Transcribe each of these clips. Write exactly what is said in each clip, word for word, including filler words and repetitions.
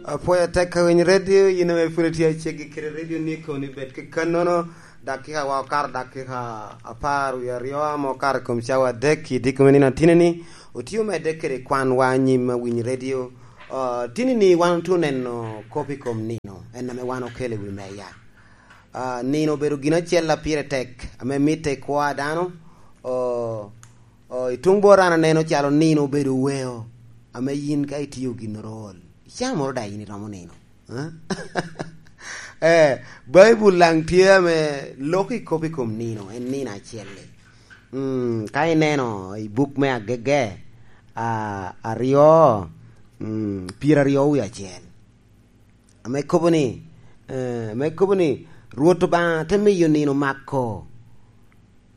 Apwoyo atek ka winy redio, yin ame pwod itye aceggi kede redio ni kono ibed ki kannono, dakika wa okato dakika apar wie aryo ame okato i kom cawa adek i diko me nino atinni, otio medde kede kwan wa anyim a winy redio. Ah, tinni wan otye neno kop i kom nino, en ame wan okelo i wi meya. Ah, nino obedo gin acel a pire tek, ame mitte i kwo a dano. Oh, oh, i tuŋ bot an aneno calo nino obedo weo, ame yin ka itio ginnoro ol, icaa moro daŋ yin iromo nino. Eh? Eh, Baibul daŋ tye ame loko i kop i kom nino, en nino acel-li. Mm, ka ineno i buk me Agege, ah, aryo, mm, pyeraryo wie acel, ame kobo ni, eh, ame kobo ni, Rwot Obaŋa te miyo nino mako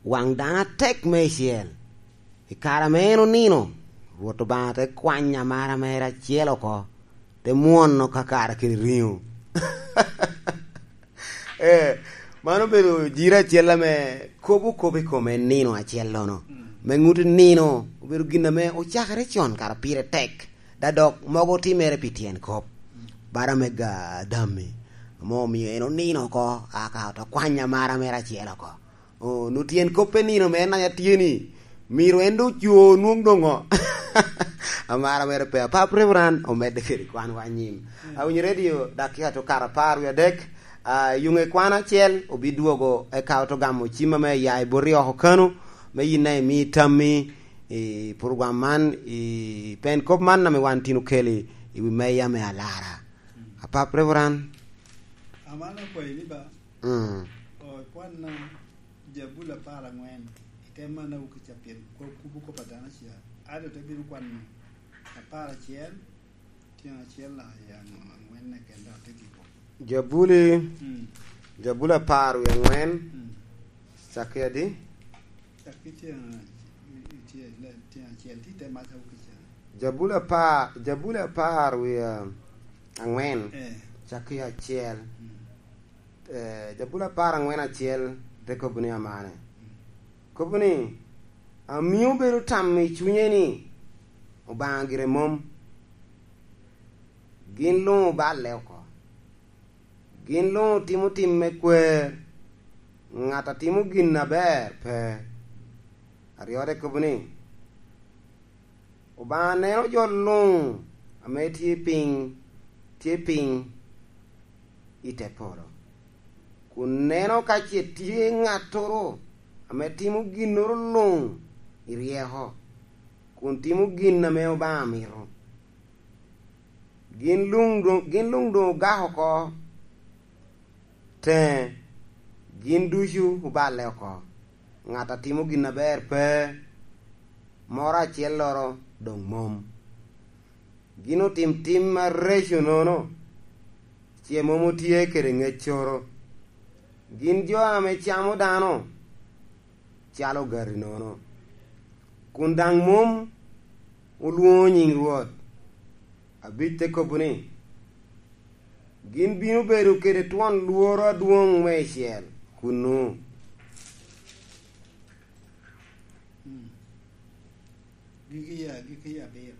waŋ dano atek meicel. I kare ame en onino, Rwot Obaŋa te kwanyo amara mere acel oko, te mwono ka kare kede riŋo. Eh, man obedo jiro acel ame kobo kop i kome nino acellono. Mm. Me ŋuti nino obedo gin ame ocakere con, kara pire tek, da dok mogo otimere pi tyen kop. Mm. Bara me ga Adami, ame omio en onino oko, aka oto kwanyo amara mere acel oko. Oh, nu tyen kop pe nino me en aya tye ni, myero en doŋ oco nwoŋ doŋo. Amara mere pe apap Reverend omedde kede kwan wa anyim. Mm. Awinyo redio dakika to kara apar wie adek, ah, yuŋe kwan acel obidwogo eka oto gamo cim ame ya i boti oko kano, me yin a imi tammi i program man, i pen kop man ame wan tin okeli i wi meya me alara. Mm. Apap Reverend. Amana kwayi ni ba, Mm. O, ikwanna Jabuli apar aŋwen, i te manna wukica pien kop kubo kop a dano ca. Ado te bino kwano apar acel, tyen acel naka i aŋwen keken dok te giko. Jabuli, Mm. Jabuli apar wie aŋwen, Mm. Cakki adi? Cakki tyen, tyen, tyen acel, ti te maca wukica. Jabuli apar, Jabuli apar wie aŋwen, Eh. Cakki acel. Mm. Eh, Jabuli apar aŋwen acel te kobo ni amane. Kobo ni, "Amio bedo tam i cunye ni Obaŋa gire mom. Gin luŋ oballe oko. Gin luŋ otimo tim me kwer. Ŋat a timo gin aber pe." Aryo te kobo ni, "Obaŋa neno jo luŋ ame tye piny, tye piny i te polo, kun neno ka ce tye ŋattoro ame timo ginnoro luŋ i ryeko, kun timo gin ame Obaŋa mito. Gin luŋ doŋ, gin luŋ doŋ ogak oko teŋe, gin ducu oballe oko. Ŋat a timo gin aber pe, moro acelloro doŋ mom. Gin otim tim areco nono, ce mom otye kede ŋeccoro. Gin jo ame camo dano calo ogati nono, kun daŋ mom olwoŋo nyiŋ Rwot." Abic te kobo ni, "Gin bino bedo kede twon lworo adwoŋ meicel kunnu." Mm. Gigi ya, gigi ya abiro.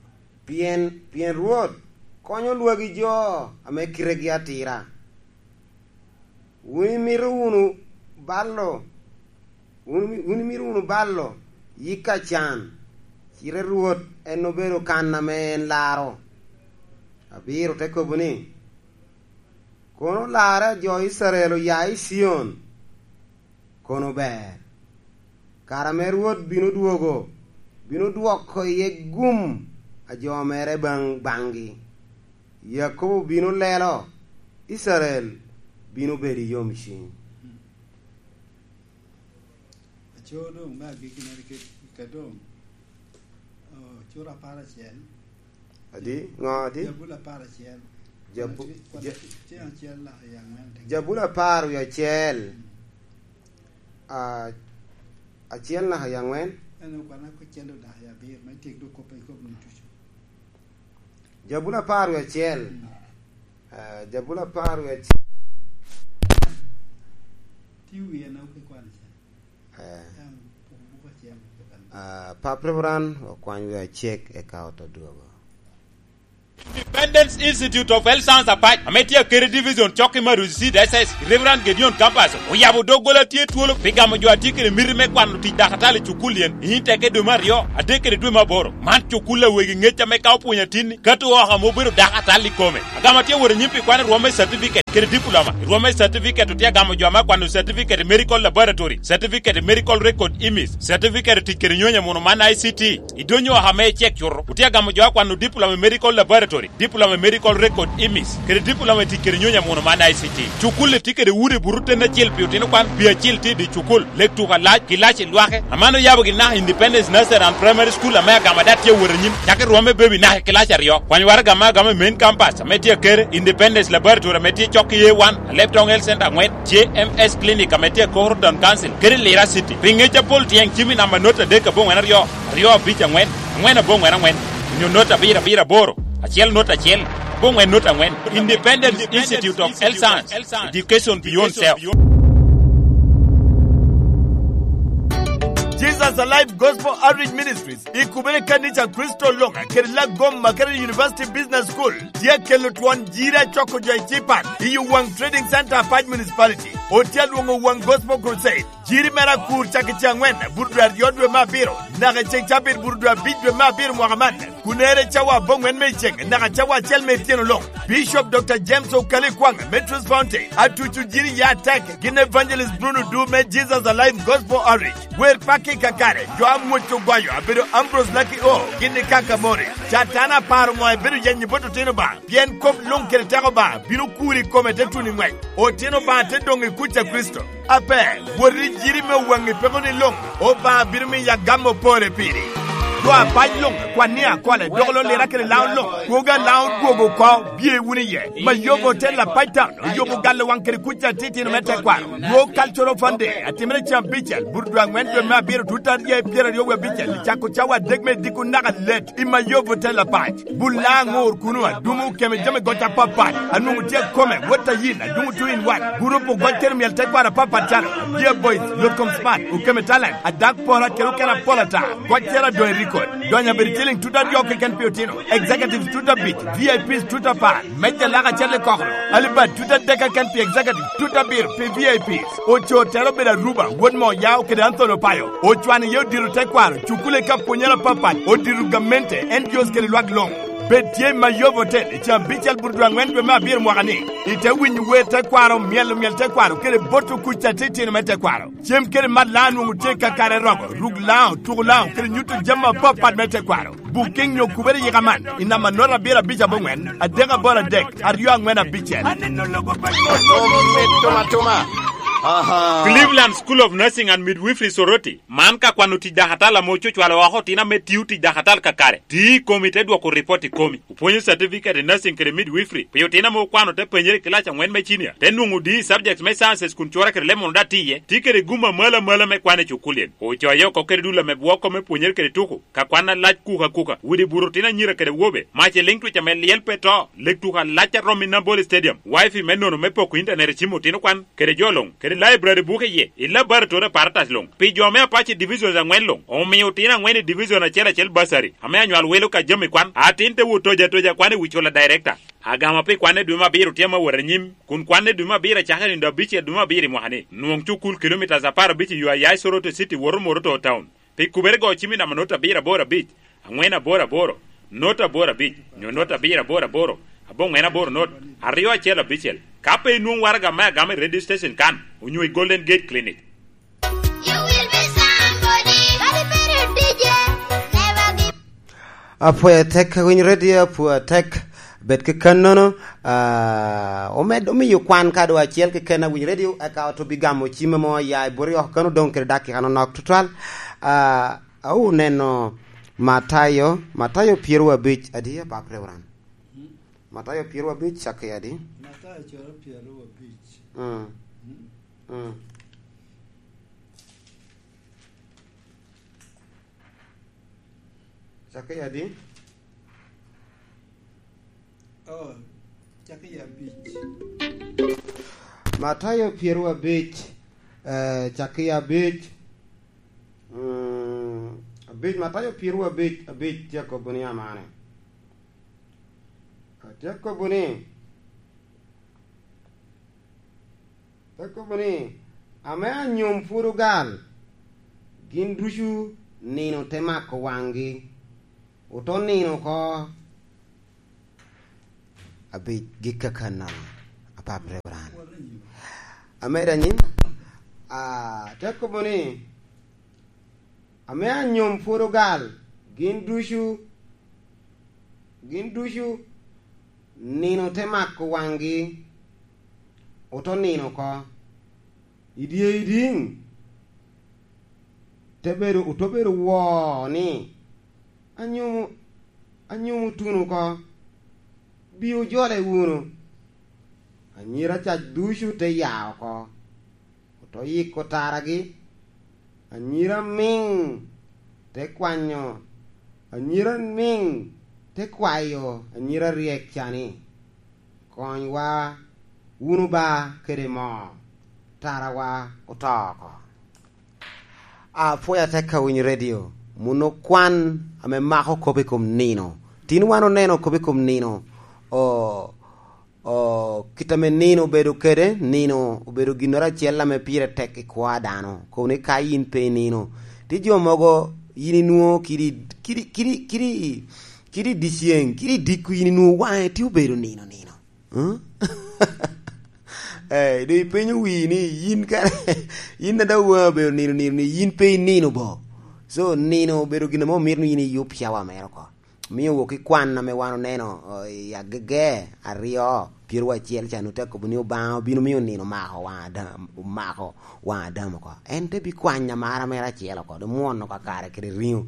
Pien, pien Rwot konyo lwagi jo ame kitegi atira. Wun imito wunu balo, wun, wun imito wunu balo yik a can, cite Rwot en obedo kan ame en laro. Abiro te kobo ni, "Kono larre a jo Icrael oya i Cion, kono ber. Kare ame Rwot bino dwogo, bino dwoko iye gum a jo mere baŋ, baŋgi. Yakobo bino lelo, Icrael bino bedo i yomcwiny." Aco doŋ me agikki mere kit ka doŋ, oh, cura apar acel. Adi? Ŋo adi? Jabuli apar acel. Jabu-, Kwan ja- tye acel naka i aŋwen te. Jabuli apar wie acel. Mm. Ah, acel naka i aŋwen. En okwana ko cendo naka i abiro, me tyek dok kop i kop ni ducu. Jabuli apar wie acel. Mm. Ah, Jabuli apar wie acel. Ti wie na okikwan acel. Eh. Tam pok buko acel, buko kan Ah, Pap Reverend, okwany wi acek, eka oto dwogo. Independence Institute of Health Science Apac, ame tye Akere Division, cok i Maruzi Seed S S, Reverend Gedeon Campus, oyabo doggola tye twolo pi gamo jo a tye kede miti me kwano tic dakatali i cukul yen, i teke dwe me aryo, adek kede dwe me aboro. Man cukul a wegi ŋec ame ka opwonyo atinni, kato oko ame obedo dakatali i kome. Agamo tye wot anyim pi kwano i rwom me certificate kede diploma. I rwom me certificate otye agamo jo ame akwano certificate i medical laboratory, certificate i medical record, imis, certificate i tic kede nyonyo muno man I C T. I dony oko ame icek cuto, otye agamo jo akwano diploma i medical laboratory, diploma i medical record, imis, kede diploma i tic kede nyonyo muno man I C T. Cukul-li tye kede udi buto ten acel pi otino kwan, pi acil tye i dye cukul, lek tuko alac, kilaci lwake. Aman oyabo gin naka Independence Nursery and Primary School ame agamo ada tye awot anyim, cako i rwom me baby naka i kilaci aryo. Kwany waraga ame agamo i main campus ame tye Akere, Independence Laboratory ame tye cok i A one, Alep Town Health Center angwen, J M S Clinic ame tye i Koro Town Council, kede Lira City. Pi ŋec apol tyeng cim i namba not adek aboŋwen aryo, aryo abic angwen, angwen aboŋwen angwen, onyo not abiro abiro aboro, acel not acel, aboŋwen not angwen. Independence Institute of Health Science, education beyond self. Jesus Alive Gospel Outreach Ministries, i kubere kanica Kristo Loŋa kede Lagoma kede University Business School, tye akelo twon jiri acoko jo i Cipan i Owaŋ Trading Center, Apac Municipality. Otye alwoŋo Owaŋ Gospel Crusade. Jiri mere akur cak i ce angwen, buto dwe aryo dwe me abiro, naka i ceŋ cabit buto dwe abic dwe me abiro mwaka man. Kunere cawa aboŋwen me i ceŋ, naka cawa acel me ityeno loŋ. Bishop Doctor James Okali Kwaŋ, Metros Fountain, atuco jiri ya atek, gin Evangelist Bruno Du me Jesus Alive Gospel Outreach. Wer pakki kakare, jo amwoc ogoyo, abedo Ambrose Lucky O, gin i Kaka Morris. Catan aparo ŋo ebedo yenyo bot otino ba, pien kop luŋ kede teko ba, bino kuri i kome te tuno i ŋwec. Otino ba te doŋ i kuc a Kricito. Ape, wot i jiri me waŋi peko ni luŋ, Obaŋa bino miyo agamo pore piri. Jo apac luŋ, kwanni akole, dok lo lira kede laŋo luŋ, kwogo alaŋo dwogo oko, bye wunu iye. Mayobo Hotel Apac Town, oyobo galo waŋ kede kuc atitino me tekwaro. Rwo Cultural Fund Day, atimere cen abicel, buto dwe angwen dwe me abiro, tut aryo pyeraryo wie abicel, cako cawa adek me diko naka let. I Mayobo Hotel Apac, bul laŋo ŋor kuno, adumo okeme jami goc apapat, anwoŋo tye akome, wot a yin, adumo two in one, gurup ogoc kede myel tekwaro apapat calo, Dear Boys, Lotkom Smart, okeme Talent, Adak Pora kede okene apol ata, goc cero adoŋ i record, donyo abedo ciliŋ tut aryo keken pi otino, executives tut abic, V I Ps tut apar, meja lak acel i kokoro, alibad tut adek keken pi executive, tut abiro pi V I Ps. Ocoo tero obedo Aruba, wot Moyao kede Anthony Opayo. Ocwano iye odito tekwaro, cukule ka pwonyere apapat, odito gamente, N G Os kede lwak luŋ. Bed tye i Mayobo Hotel i caa abicel buto dwe angwen dwe me abiro mwaka ni. Ite winyo wer tekwaro, myelo myel tekwaro, kede boto kuc atitino me tekwaro. Cem kede mat laŋo nwoŋo tye kakare romo, ruk laŋo, tuko laŋo, kede nyuto jami apapat me tekwaro. Booking nyo kubere yika man i namba nota abiro abic aboŋwen, adek aboro adek, aryo angwen abicel. Aneno lobo pa Yecu. Omi tuma tuma. Aha. Cleveland School of Nursing and Midwifery Soroti, man ka kwano tic dakatala ame ocucwalo oko otino ame tio tic dakatala kakare. Ti i komi te dwoko ripot i komi. Opwonyo certificate i nursing kede midwifery. Pi otino ame okwano te penyere i kilac angwen me cinia, te nwoŋo D i subjects me sciences kun cura kede lemon oda tiye, ti kede gum amalo amalo me kwan i cukul yen. Ocoye oko kede dul ame bwoko me pwonyere kede tuko. Ka kwan alac kuka kuka, udi buto otino anyira kede awobe, mac i liŋ twic ame lyel pe to, lek tuko alac a Romi Nambole Stadium, wifi me nono me poko intanet i cim otino kwan, kede jo luŋ, kede library buke iye, i laboratory apparatus luŋ, pi jo me Apache divisions angwen luŋ, omio otino angwen i division acel acel bursary, ame anywal welo ka jami kwan, atin te wot toja toja kwan i wi cula director. Agama pi kwan i dwe me abiro tye ma wot anyim, kun kwan i dwe me abiro acakere nino abicel dwe me abiro i mwaka ni, nwoŋ cukul kilometres apar abic i yo a ya i Soroti City woto Moroto Town. Pi kubere go cim i namba not abiro aboro abic, angwen aboro aboro, not aboro abic, nyo not abiro aboro aboro, aboŋwen aboro not, aryo acel abicel. Ka pe inwoŋ waraga me agama i radio station kan, onyo i Golden Gate Clinic. You will be somebody. Kadi bedo D J, never give Apwoyo tek, winy radio apwoyo tek, bed kekennono, ah, omed omiyo kwan kado acel keken awiny radio, eka oto bigamo cime mo ya i bwori oko kano dong kede dakika nonok tutwal. Ah, awu neno Matayo, Matayo pyeraryo abic, adi, Apap Reverend? Matayo pyeraryo abic, cakke adi? Matayo coro pyeraryo abic. Mm. Mm. Mm. Cakke adi? Oh, cakke abic. Matayo pyeraryo abic, eh, cakke abic. Mm, Abic, Matayo pyeraryo abic, abic tye akobo ni amane. Atye akobo ni, atye akobo ni, ame anyom pwod ogal, gin ducu nino te mako waŋgi, oto nino oko. Abic gik akannono, apap Reverend. Ame danyi, ah, te kobo ni, ame anyom pwod ogal, gin ducu, gin ducu nino te mako waŋgi, oto nino oko. I dye idiŋ, te bedo, oto bedo woo ni, "Anyumo, anyumo tuno oko, bi ojole wunu." Anyira cac ducu te ya oko, oto yiko taragi. Anyira miŋ te kwanyo, anyira miŋ te kwayo anyira ryek ca ni, "Konywa wunu ba kede moo, tarawa oto oko." Apwoyo atek ka winyo redio, muno kwan ame mako kop i kom nino. Tin wan oneno kop i kom nino, o, o, kit ame nino obedo kede, nino obedo ginnoro acel ame pire tek i kwo a dano. Kobo ni ka yin pe inino, tye jo mogo yin inwoŋo kidi, kidi, kidi, kidi, kidi i dyeceŋ, kidi i diko yin inwoŋo waŋe tye obedo nino, nino. Huh? Eh, doŋ ipenyo wii ni yin kare, yin a daŋ waŋi obedo nino, nino, ni yin pe inino bo. So, nino obedo gin ame omito ni yin iyub cawa mere oko. Mio wok i kwan ame wan oneno, oh, i Agege aryo, pyeraryo acel ca, nwoŋo te kobo ni Obaŋa obino mio nino mako waŋ Adam, omako waŋ Adam oko. En te bi kwanyo amara mere acel oko, doŋ mwono kakare kede riŋo.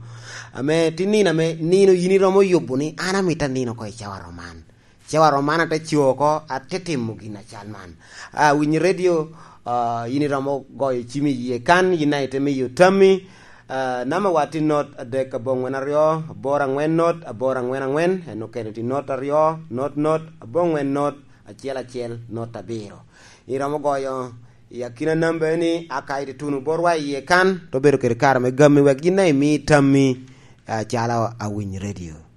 Ame ti nino ame nino yin iromo yubo ni, "An amito anino oko i cawa roman." Cawa roman ate co oko, ate timo gin acal man. Ah, winyo redio, ah, yin iromo goyo cim i yie kan, yin a ite miyo tammi. Ah, namba wa tye not adek aboŋwen aryo, aboro aŋwen not, aboro aŋwen aŋwen, en okene tye not aryo, not not, aboŋwen not, acel acel, not abiro. Iromo goyo i akina namba eni, aka ite tuno botwa i yie kan, to bedo kede kare me gammi wek yin a imi tammi, ah, calo awiny redio.